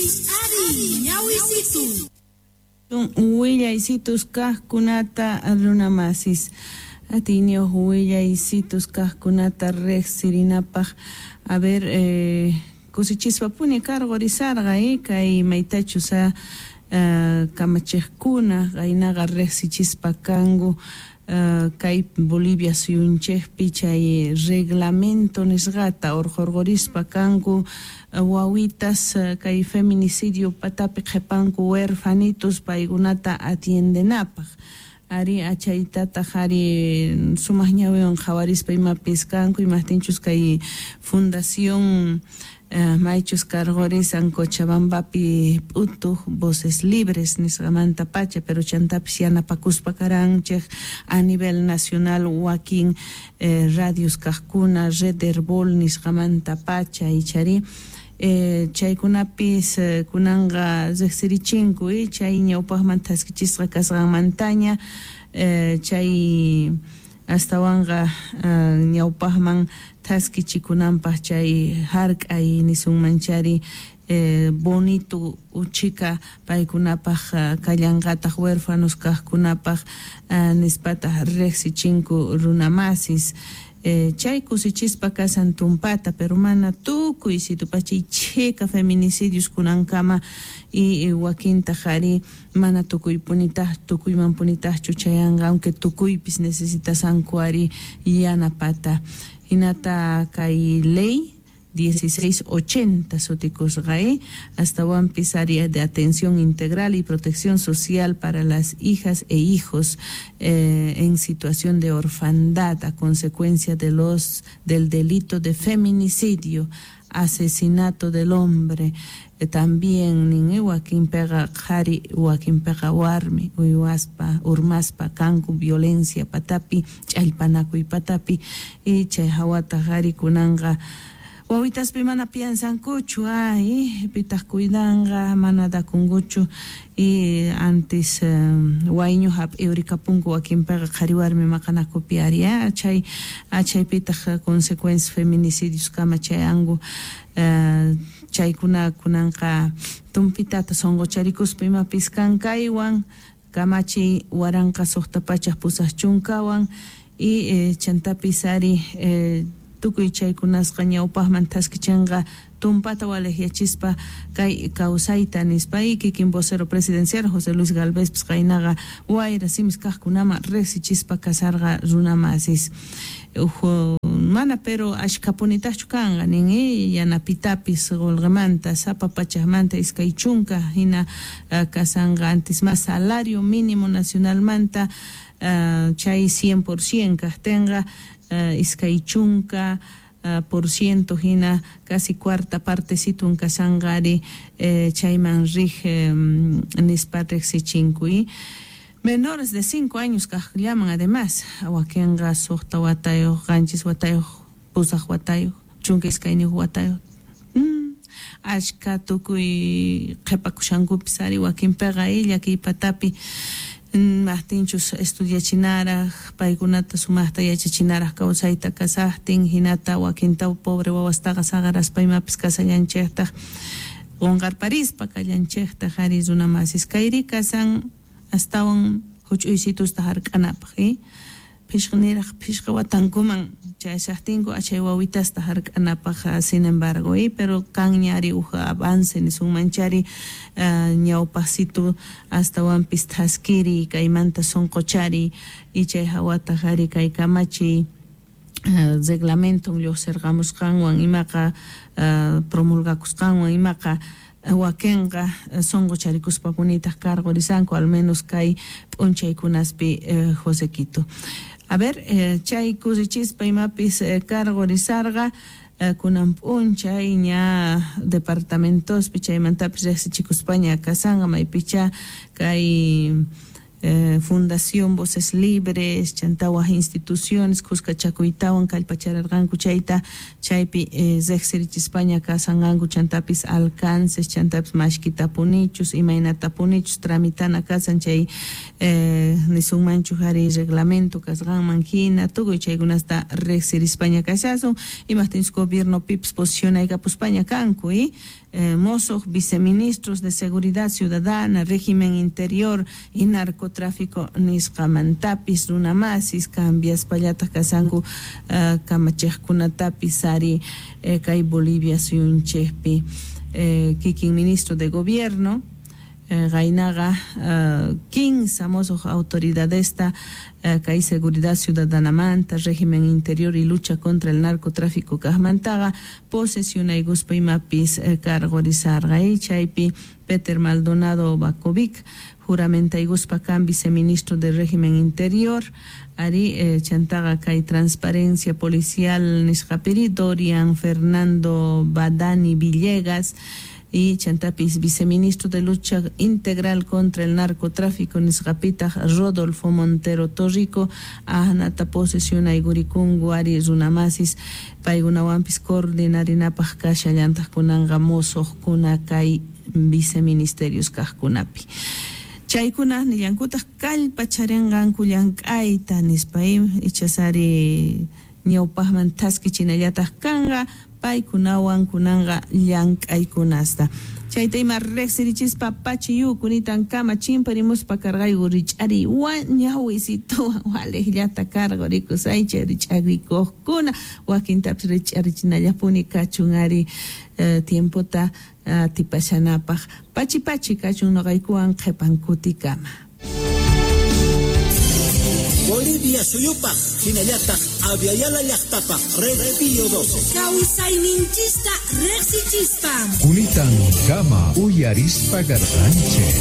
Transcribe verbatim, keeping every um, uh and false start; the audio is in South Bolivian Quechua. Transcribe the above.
Ari, ñawisitu. Willaysitus kajkunata runamasis. Atiyniyuq willaysitus kajkunata riqsirinapaq. A ver, eh, kusichispapuni karqurisarqa eh, kay maytachus uh, kamachiqkuna qaynaqa riqsichispa kanku uh, kay Bolivia suyunchikpi chay reglamento nisqata urqurqurispa kanku wawitas kay feminicidio patapi qhipanku huerfanitos paykunata atiendenapaq. Ari achaytataq ari sumaq ñawiwan qhawarispa imapis kanku imaqtinchus kay fundación uh, maychus karqurisan Cochabambapi p'utuq Voces Libres nisqamanta pacha, pero chantapis yanapakuspa karanchik a nivel nacional wakin eh, radios kaqkuna Red Herbol nisqamanta pacha ichari. Eh, chaykunapis eh, kunanqa riqsirichinku eh, chay ñawpaqman thaskichisqa kasqanmantaña eh, chay astawanqa uh, ñawpaqman thaskichikunanpaq chay hark'ay nisunmanchari eh, bonito uchika paykunapaq uh, kallanqataq huérfanos kaqkunapaq uh, nispataq riqsichinku runamasis. Eh, chay kusichispa kasan tumpata, pero mana tukuy situpachay chika feminicidios kunankama y, y wakintaq ari mana tukuypunitaq tukuymanpunitaqchu chayanqa, aunque tukuypis necesitasanku ari yanapata. Hinata kay ley dieciséis ochenta sutikusqa eh, astawanpis área de atención integral y protección social para las hijas e hijos eh, en situación de orfandad a consecuencia de los del delito de feminicidio, asesinato del hombre. Eh, también nin wakinpiqa qhari wakinpiqa warmi uywaspa urmaspa kanku violencia patapi ch'allpanakuy patapi y chay hawataq ari kunanqa wawitaspi mana piensankuchu ay pitaq cuidanqa mana dakunkuchu y antes um, wayñu hap'iurikapunku wakinpiqa qhari warmi maqanakupi ari chay chaypitaq consecuencias feminicidios kama chayanku uh, chaykuna kunanqa tumpitata sunqucharikuspa imapis kankaywan kamachiy waranqa suqta pachaq pusaq chunkawan y eh, chantapis ari eh, tukuy chaykunasqa ñawpaqman thaskichinqa tumpata waliqyachispa kay kawsayta nispa y kikin vocero presidencial José Luis Gálvez qaynaqa wayra simis kaqkunaman riqsichispa kasarqa runamasis. Uhu, mana pero ashkapunitaqchu kanqa nin eh, yanapitapis qullqimanta sapa pachaqmanta iskay chunka hina uh, kasanqa antes más salario mínimo nacionalmanta uh, chay cien por cien kaqtinqa Uh, iskay chunka uh, por ciento hina casi cuarta partecito kasanqa ari eh, chayman rij eh, nispa riqsichinku y menores de cinco años kaqllaman además wakinqa suqta watayuq qanchis watayuq pusaq watayuq chunka iskayniyuq watayuq mm, achka tukuy qhipakushankupis ari wakinpiqa llakiy patapi maqtinchus estudiachinaraq paykunata sumaqta yachachinaraq kawsayta kasaqtin hinata wakinta pobre wawastaqa saqaraspa imapis kasallanchiktaq qunqarparispa kallanchiktaq ari runamasis kayri kasan astawan huch'uysitusta hark'anapaq eh? Phishqa niraq phishqa watankuman chayashaqtinku achay wawitasta hark'anapaq sin embargo eh? Pero kanña ari uj avance nisunmanchari uh, ñawpaqsitu astawanpis thaskiri kaymanta sunquchari y chay hawataq ari kay kamachiy uh, reglamento lluqsirqamusqanwan imaqa uh, promulgakusqanwan imaqa wakinqa sunqucharikuspapunitaj karqurisanku al menos kay p'unchaykunaspi eh, Josequito. A ver, eh, chay kusichispa imapis eh, karqurisarqa eh, kunan p'unchay ña departamentospi chaymantapis riqsichikuspaña kasanqa maypicha kay eh, Fundación Voces Libres chanta waj instituciones kuskachakuytawan kallpachararqanku chayta chaypi eh, riqsirichispaña kasanqanku chantapis alcances chantapis mashkitapunichus imaynatapunichus tramitana kasan chay eh, nisunmanchu ari reglamento kasqanman hina tukuy chaykunasta riqsirispaña kashasun imaqtinchus gobiernopipis posicionaykapuspaña kanku eh? eh, mosoj viceministros de Seguridad Ciudadana, Régimen Interior y Narcotráfico nisqamantapis runamasis cambiaspallataq kasanku uh, kamachejkunatapis ari eh, kay Bolivia suyunchejpi eh, kikin ministro de Gobierno Gainaga uh, kinsa mosoj autoridadesta uh, kay Seguridad Ciudadanamanta, Régimen Interior y Lucha contra el Narcotráfico kajmantaqa posesionaykuspa imapis uh, cargorizarqa chaypi Peter Maldonado Bakovic juramentaykuspa kan viceministro de Régimen Interior ari eh, chantaqa kay Transparencia Policial nisqapiri Dorian Fernando Badani Villegas y chantapis viceministro de Lucha Integral contra el Narcotráfico nisqapitaq Rodolfo Montero Torrico ahnata posesionaykurinku ari runamasis paykunawanpis coordinarinapaq kashallantaq kunanqa mosojkuna kay viceministerios kajkunapi. Chaykuna nillankutaq kallpacharinqanku llank'ayta nispa ichasari ñawpaqman thaskichinallataq kanqa paykunawan kunanqa llank'aykunasta. Chayta ima riqsirichispa pachiyu kunitan kama chimparimuspa karqayku rich'ari ñawisituwan waliqllata karqurikusaychay rich'arikuqkuna wakintapis rich'arichinallapuni kachun ari eh, tiempota atipashanapaq pachi pachi kachun noqaykuwan qhipan kutikama. Bolivia suyupaq hinallataq Aviala llaqtapaq Red Pío doce. Kawsayninchista riqsichispa. Kunitan kama uyarispa garqanchej.